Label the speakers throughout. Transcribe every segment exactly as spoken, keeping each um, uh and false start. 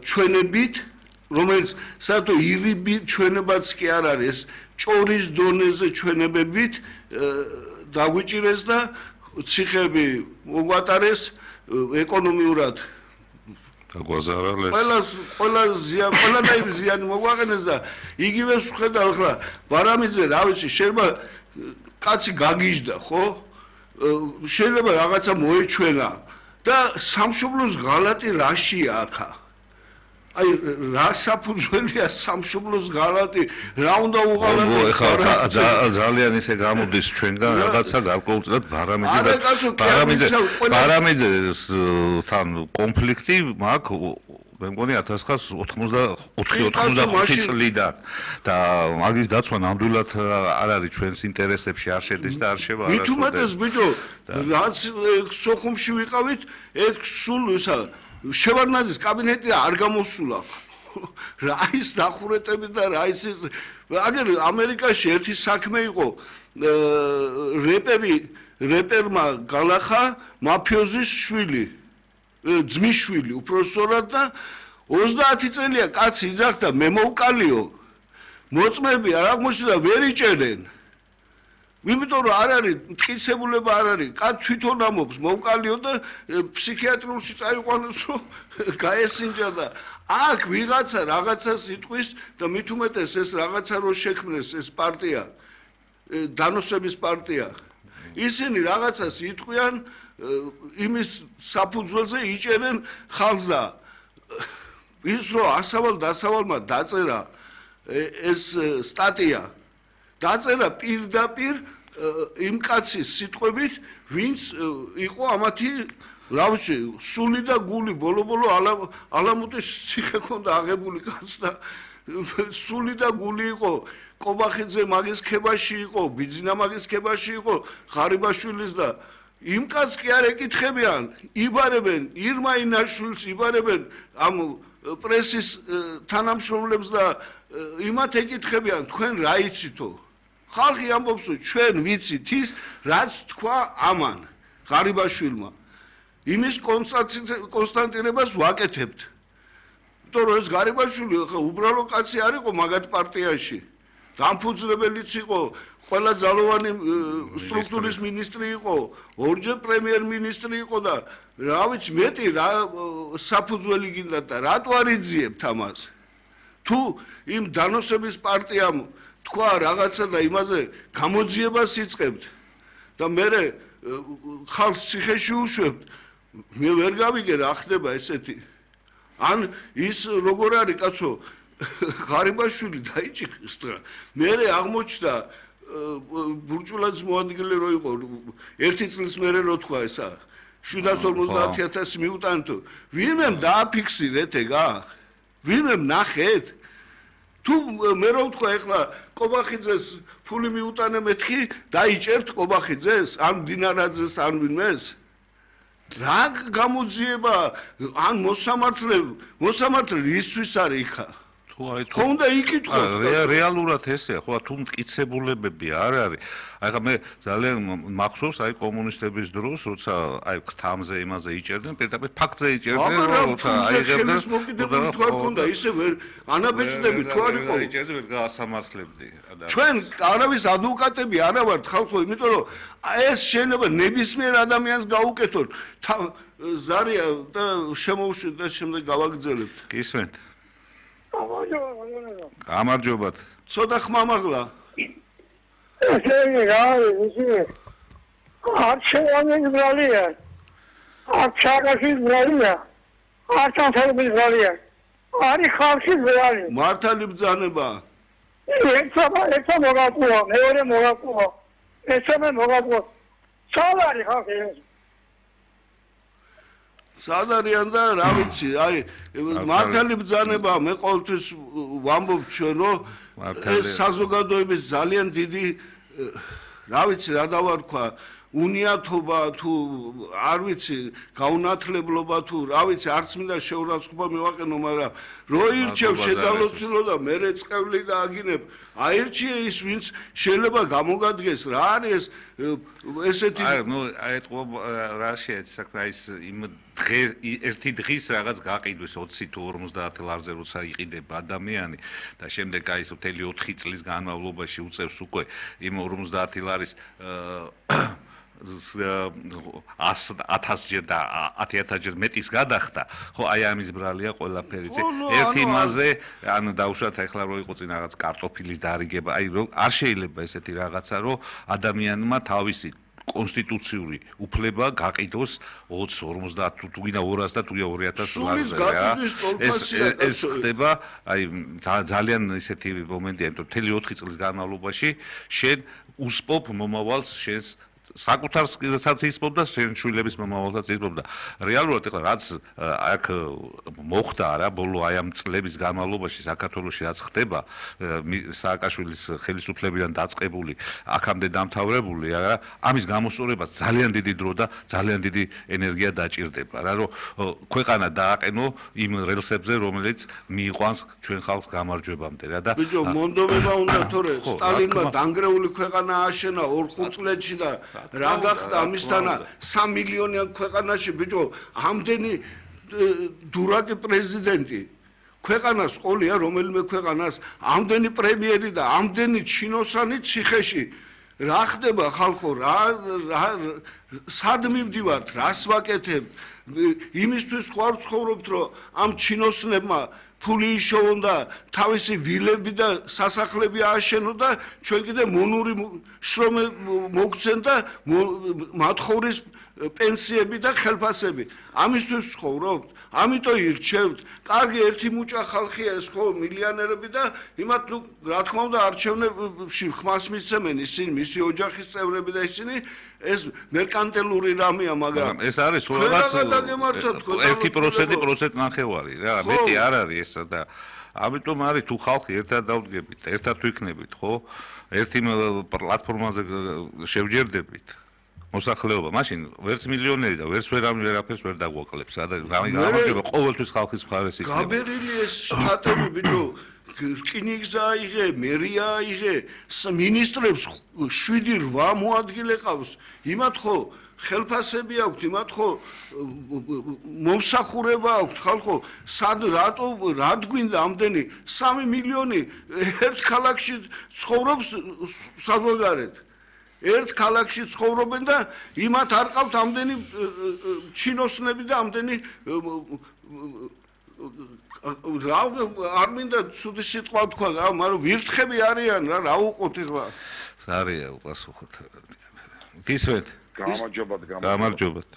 Speaker 1: ჩვენებით, რომელიც საერთოდ ირიბი ჩვენებაც კი არ არის, ჭორის დონეზე ჩვენებებით დაგვიჭირეს და ციხეები მოგვატარეს ეკონომიურად
Speaker 2: დაგვაზარალეს.
Speaker 1: ყველა ყველა ზიან, ყველანაირი ზიანი მოგვაყენეს და იგივე ვხედავ ახლა ბარამიძე, რა ვიცი, შეიძლება კაცი გაგიჟდა, ხო? შეიძლება რაღაცა მოეჩვენა და სამშობლოს ღალატი რაშია ახლა? აი რა საფუძველია სამშობლოს ღალატი, რა უნდა უღალატოს?
Speaker 2: ეხლა ძალიან ისე გამოდის ჩვენგან რაღაცა გარკვეულწილად ბარამიძე და ბარამიძე ბარამიძესთან კონფლიქტი მაქვს მე მგონი ათას ცხრაასი ოცდაოთხი ოცდახუთი წლიდან და მაგის დაცვა ნამდვილად არ არის ჩვენს ინტერესებში არ შედის და არ შევა
Speaker 1: მით უმეტეს ბიჭო რაც სოხუმში ვიყავით ეგ სულ ისა შევარნაძის კაბინეტი არ გამოსულა რა ის დახურეტები და რა ის აგერ ამერიკაში ერთი საქმე იყო რეპერი რეპერმა გალახა მაფიოზის შვილი ძმის შვილი უпроსორად და ოცდაათი წელია კაცი იძახდა მე მოვკალიო მოწმები არ აღმოჩნდა ვერ იჭერენ იმიტომ რომ არ არის მტკიცებულება არ არის კაც თვითონ ამობს მოვკალიო და ფსიქიატრიულში წაიყვანოს რომ გაესინჯა და აქ ვიღაცა რაღაცას იტყვის და მით უმეტეს ეს რაღაცა რო შექმნეს ეს პარტია დანოსების პარტია ისინი რაღაცას იტყვიან იმის საფუძველზე იჭერენ ხალხს და ის რო ასავალ დასავალმა დაწერა ეს სტატია დაწერა პირდაპირ იმ კაცის სიტყვებით ვინც იყო ამათი რა ვიცი სული და გული ბოლო-ბოლო ალამუტის ციხე ქონდა აღებული კაცს და სული და გული იყო კობახიძე მაგის ქებაში იყო ბიძინა მაგის ქებაში იყო ღარიბაშვილის და იმ კაცს კი არ ეკითხებიან იბარებენ ირმა ინაშვილს იბარებენ ამ პრესის თანამშრომლებს და იმათ ეკითხებიან თქვენ რა იცითო ხალხი ამბობს რომ ჩვენ ვიცით ის რაც თქვა ამან ღარიბაშვილმა იმის კონსტანტირებას ვაკეთებთ იმიტომ რომ ეს ღარიბაშვილი ხა უბრალო კაცი არ იყო მაგათ პარტიაში დამფუძნებელიც იყო ყველა ძალოვანი სტრუქტურის მინისტრი იყო ორჯერ პრემიერ-მინისტრი იყო და რა ვიცი მეტი რა საფუძველი გინდა და რატო არ იძიებთ ამას თუ იმ დანოსების პარტიამ თქვა რაღაცა და იმაზე გამოძიებას იწყებთ და მე ხალხს ციხეში უშვებთ მე ვერ გავიგე რა ხდება ესეთი ან ის როგორ არის კაცო ღარიბაშვილი დაიჭიქს და მე აღმოჩნდა ბურჭულაძის მოადგილე რო იყო ერთი წლის მერე რო თქვა ესა შვიდას ორმოცდაათი ათასი მიუტანთო ვინმემ დააფიქსირეთ ეგა ვინმემ ნახეთ თუ მე რო ვთქვა ეხლა კობახიძეს ფული მიუტანე მეთქი დაიჭერთ კობახიძეს ან დინარაძეს ან ვინმეს რა გამოძიება ან მოსამართლე მოსამართლე ისთვის არის იქა
Speaker 2: თუ აი თუ
Speaker 1: ხონდა იკითხოს
Speaker 2: რეალურად ესეა ხო თუ მტკიცებულებები არ არის აი ხა მე ძალიან მახსოვს აი კომუნისტების დროს როცა აი ქთამზე იმაზე იჭერდნენ პირდაპირ ფაქტზე იჭერდნენ როცა აიღებდნენ
Speaker 1: მოკიდებული თუ არ ქონდა ისე ვერ ანაბეჭდები თუ არ იყო
Speaker 2: იჭერდნენ ვერ გაასამართლებდი
Speaker 1: ჩვენ არავის ადვოკატები არა ვართ ხალხო იმიტომ რომ ეს შეიძლება ნებისმიერ ადამიანს გაუკეთოთ ზარია და შემოუშვით და შემდეგ გავაგრძელებთ
Speaker 2: გისმენთ გამარჯობათ.
Speaker 1: ცოტა ხმამაღლა.
Speaker 3: ესე რა ვიცი. არ შევანე ბრალია. არ ჩაგაში ბრალია. არ ჩანთები ბრალია. არის ხალხი ბრალი.
Speaker 1: მართალი ბრძანება.
Speaker 3: ეცა ეცა მოგაყუა, მეორე მოგაყუა. ეცა მე მოგაყუა. სალარი ხალხი
Speaker 1: სადარიან და რა ვიცი, აი მართალი ბრძანება მე ყოველთვის ვამბობ ჩვენ რომ ეს საზოგადოების ძალიან დიდი რა ვიცი რა დავარქვა უნიათობა თუ არ ვიცი გაუნათლებლობა თუ რა ვიცი არც მინდა შეურაცხყოფა მივაყენო მაგრამ რო ირჩევ შედალოცილო და მე რეწყევლი და აგინებ აირჩიე ის ვინც შეიძლება გამოგადგეს რა არის ესეთი
Speaker 2: აი ნუ აეტყო რა შეიძლება საქმე ის იმ დღე ერთი დღის რაღაც გაყიდვის ოცი თუ ორმოცდაათი ლარზე როცა იყიდება ადამიანი და შემდეგ აი ეს მთელი ოთხი წლის განმავლობაში უწევს უკვე იმ ორმოცდაათი ლარის ათასჯერ და ათი ათასჯერ მეტის გადახდა ხო აი ამის ბრალია ყველაფერი ერთი იმაზე ან დაუშვათ ახლა რო იყო წინ რაღაც კარტოფილის დარიგება აი არ შეიძლება ესეთი რაღაცა რომ ადამიანმა თავისი კონსტიტუციური უფლება გაყიდოს ოცი ორმოცდაათ თუ გინდა ორასი და თუ ორი ათასი ლარზე რა ეს ეს ხდება აი ძალიან ისეთი მომენტია იმიტომ მთელი ოთხი წლის განმავლობაში შენ უსპობ მომავალს შენს საკუთარსაც ისპობდა შენ შვილების მომავალსაც ისპობდა რეალურად ეხლა რაც აქ მოხდა რა ბოლო აი ამ წლების განმავლობაში საქართველოში რაც ხდება სააკაშვილის ხელისუფლებიდან დაწყებული აქამდე დამთავრებული რა ამის გამოსწორებას ძალიან დიდი დრო და ძალიან დიდი ენერგია დაჭირდება რა რომ ქვეყანა დააყენო იმ რელსებზე რომელიც მიიყვანს ჩვენ ხალხს გამარჯვებამდე რა და
Speaker 1: ბიჭო მონდომება უნდა თორე სტალინმა დანგრეული ქვეყანა ააშენა ორ ხუთ წლებში და რა გახდა ამისთანა სამი მილიონიან ქვეყანაში ბიჭო ამდენი დურაკი პრეზიდენტი ქვეყანას ყოლია რომელიმე ქვეყანას ამდენი პრემიერი და ამდენი ჩინოსანი ციხეში რა ხდება ხალხო რა სად მივდივართ რას ვაკეთებ იმისთვის ხარ ცხოვრობთ რომ ამ ჩინოსნებმა ფული იშოვონ და თავისი ვილები და სასახლები ააშენო და ჩვენ კიდე მონური შრომე მოგცენ და მათხოვრის პენსიები და ხელფასები ამისთვის ცხოვრობთ ამიტომ ირჩევთ კარგი ერთი მუჭა ხალხია ეს ხო მილიონერები და იმათ ნუ რა თქმა უნდა არჩევნებში ხმას მისცემენ ისინი მისი ოჯახის წევრები და ისინი ეს მერკანტილური რამეა მაგრამ
Speaker 2: ეს არის რაღაც ერთი პროცენტი პროცენტ ნახევარი რა მეტი არ არის ეს და ამიტომ არის თუ ხალხი ერთად დავდგებით ერთად ვიქნებით ხო ერთი პლატფორმაზე შევჯერდებით მოსახლეობა მაშინ ვერც მილიონერი და ვერც ვერაფერს ვერ დაგვაკლებს და გამარჯვება ყოველთვის ხალხის მხარეს იქნება
Speaker 1: გაბერილი ეს შტატები ბიჭო რკინიგზა აიღე მერია აიღე მინისტრებს შვიდი რვა მოადგილე ყავს იმათ ხო ხელფასები აქვთ იმათ ხო მომსახურება აქვთ ხალხო სად რატო რად გვინდა ამდენი სამი მილიონი ერთ ქალაქში ცხოვრობს საზოგადოებრივ ერთ ქალაქში ცხოვრობენ და იმათ არ ყავთ ამდენი ჩინოსნები და ამდენი რა არ მინდა ცუდი სიტყვა თქვა რა მაგრამ ვირთხები არიან რა რა უყოთ ეხლა
Speaker 2: სარია უპასუხოთ გისვეთ
Speaker 4: გამარჯობათ
Speaker 2: გამარჯობათ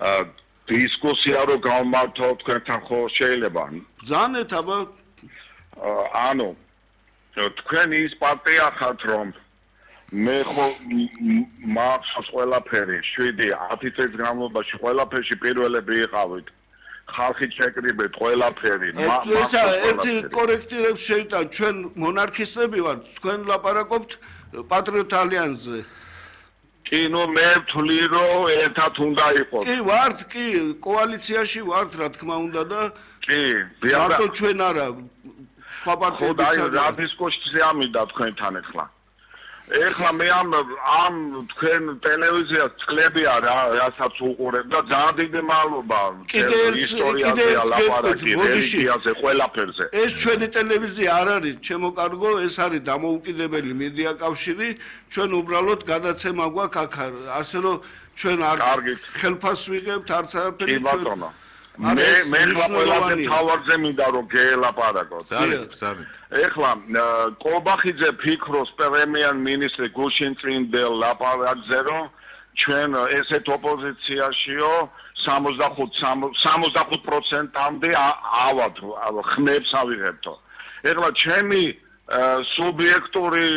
Speaker 4: აა დისკუსია რო გავმართო თქვენთან ხო შეიძლება
Speaker 1: ბრძანეთ აბა
Speaker 4: ანუ თქვენ ის პარტია ხართ რომ მე ხო მახსოვს ყველაფერი შვიდი ათი წლის განმავლობაში ყველაფერში პირველები იყავით ხალხი შეკრიბეთ ყველაფერი
Speaker 1: ესა ერთი კორექტირებს შეიტან ჩვენ მონარქისტები ვართ თქვენ ლაპარაკობთ პატრიოტ ალიანსზე
Speaker 4: კი ნუ მე ვთვლი რომ ერთად უნდა იყოს
Speaker 1: კი ვართ კი კოალიციაში ვართ რა თქმა უნდა და
Speaker 4: კი
Speaker 1: მარტო ჩვენ არა სხვა პარტიებიც
Speaker 4: არა რა დისკუსია ამიდა თქვენთან ახლა ეხლა მე ამ ამ თქვენ ტელევიზიას წლებია რა რასაც უყურებ და ძალიან დიდი მადლობა ისტორიაზე ლაპარაკი რელიგიაზე ყველაფერზე
Speaker 1: ეს ჩვენი ტელევიზია არ არის ჩემო კარგო ეს არის დამოუკიდებელი მედია კავშირი ჩვენ უბრალოდ გადაცემა გვაქვს აქ ასე რომ ჩვენ არ ხელფას ვიღებთ არც არაფერი
Speaker 4: კი ბატონო მე მე ყველაზე თავარზე მინდა რომ გელაპარაკოთ
Speaker 2: ძალიან ძალიან
Speaker 4: ეხლა კობახიძე ფიქრობს პრემიერ მინისტრი გუშინ წინდელ ლაპარაკზე რომ ჩვენ ესეთ ოპოზიციაშიო სამოცდახუთ პროცენტამდე ავად ხმებს ავიღებთო ეხლა ჩემი სუბიექტური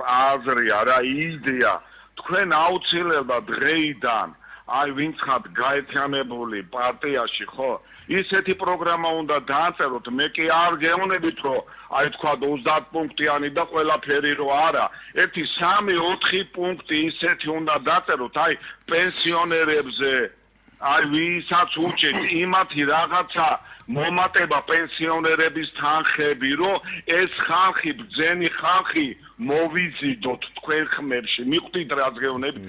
Speaker 4: აზრია რა იდეა თქვენ აუცილებლად დღეიდან აი ვინც ხართ გაერთიანებული პარტიაში ხო ისეთი პროგრამა უნდა დააწეროთ, მე კი არ გეუბნებით, რომ აი თქვა ოცდაათ პუნქტიანი და ყველაფერი რო არა, ერთი სამი ოთხი პუნქტი ისეთი უნდა დაწეროთ, აი პენსიონერებზე, აი ვისაც უჭირთ იმათი რაღაცა მომატება პენსიონერების თანხები, რომ ეს ხალხი, ბძენი ხალხი მოვიზიდოთ თქვენ ხმებში. მიხვდით რაც გეუბნებით?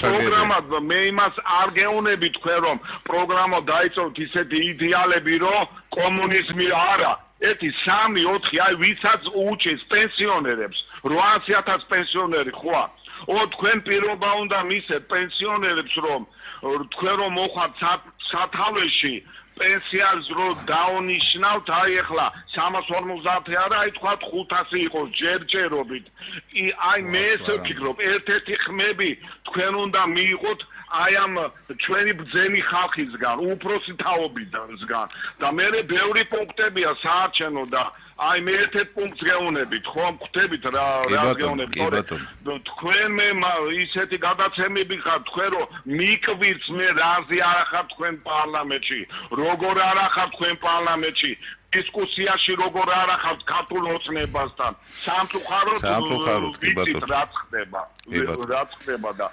Speaker 4: პროგრამა მე იმას არ გეუბნები თქვენ რომ პროგრამა დაიწყოთ ისეთი იდეალები, რომ კომუნიზმი არა. ერთი სამი ოთხი აი ვისაც უჭირს პენსიონერებს, რვაასი ათასი პენსიონერი ხوار. ო თქვენ პირობა უნდა მისცეთ პენსიონერებს, რომ თქვენ რომ მოხვათ სათავეში პენსიას რო დაუნიშნავთ, აი ახლა სამას ორმოცდაათი არა, აი თქვა ხუთასი იყოს ჯერჯერობით. აი მე ესე ვფიქრობ, ერთ-ერთი ხმები თქვენ უნდა მიიღოთ აი ამ ჩვენი ბძენი ხალხისგან, უფროსი თაობიდანსგან და მე ბევრი პუნქტებია საარჩევნო და აი მე ერთ-ერთ პუნქტს გეუბნებით, ხო, ხვდებით რა რა გეუბნებით, თქვენ მე ისეთი გადაცემები ხარ, თქვენ რომ მიკვირს მე რაზე არ ახარ თქვენ პარლამენტში, როგორ არ ახარ თქვენ პარლამენტში, დისკუსიაში როგორ არ ახარ ქართულ ოცნებასთან, სამწუხაროდ ვიცით რა ხდება, რა ხდება და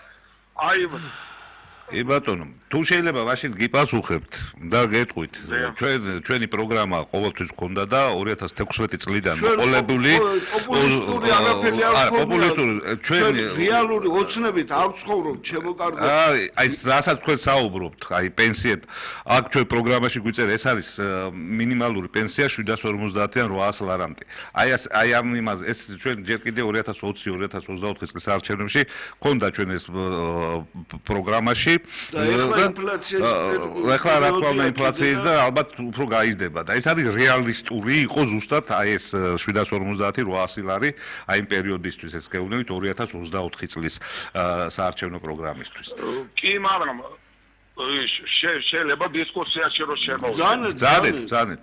Speaker 4: აი
Speaker 2: ე ბატონო, თუ შეიძლება მაშინ გიპასუხებთ და გეტყვით. ჩვენ ჩვენი პროგრამა ყოველთვის გქონდა და ორი ათას თექვსმეტი წლიდან მოყოლებული
Speaker 1: პოპულისტური არაფერი არ
Speaker 2: გქონდა. პოპულისტური ჩვენ
Speaker 1: რეალური ოცნებით არ ვცხოვრობთ, ჩემო კარგო.
Speaker 2: აი, აი რასაც თქვენ საუბრობთ, აი პენსიებ, აქ ჩვენ პროგრამაში გვიწერა, ეს არის მინიმალური პენსია შვიდას ორმოცდაათიდან რვაას ლარამდე. აი აი ამ იმაზე ეს ჩვენ ჯერ კიდე ორი ათას ოცი ორი ათას ოცდაოთხი წლის არჩევნებში გქონდა ჩვენ ეს პროგრამაში
Speaker 1: და ეხლა ინფლაციის
Speaker 2: ეხლა რა თქმა უნდა ინფლაციის და ალბათ უფრო გაიზრდება და ეს არის რეალისტური იყო ზუსტად აი ეს შვიდას ორმოცდაათი რვაასი ლარი აი იმ პერიოდისთვის ეს გეუბნებით ორი ათას ოცდაოთხი წლის საარჩევნო პროგრამისთვის.
Speaker 4: კი, მაგრამ შეიძლება დისკუსიაში რო შემოვიდეთ.
Speaker 2: ძალიან ძალიან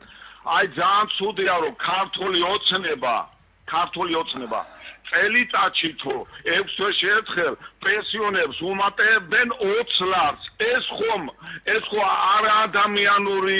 Speaker 4: აი ძალიან ცუდია რომ ქართული ოცნება, ქართული ოცნება წელიწადში თუ ექვს თვეში ერთხელ პენსიონერებს უმატებდნენ ოცს ლარს. ეს ხომ ეს ხო არა ადამიანური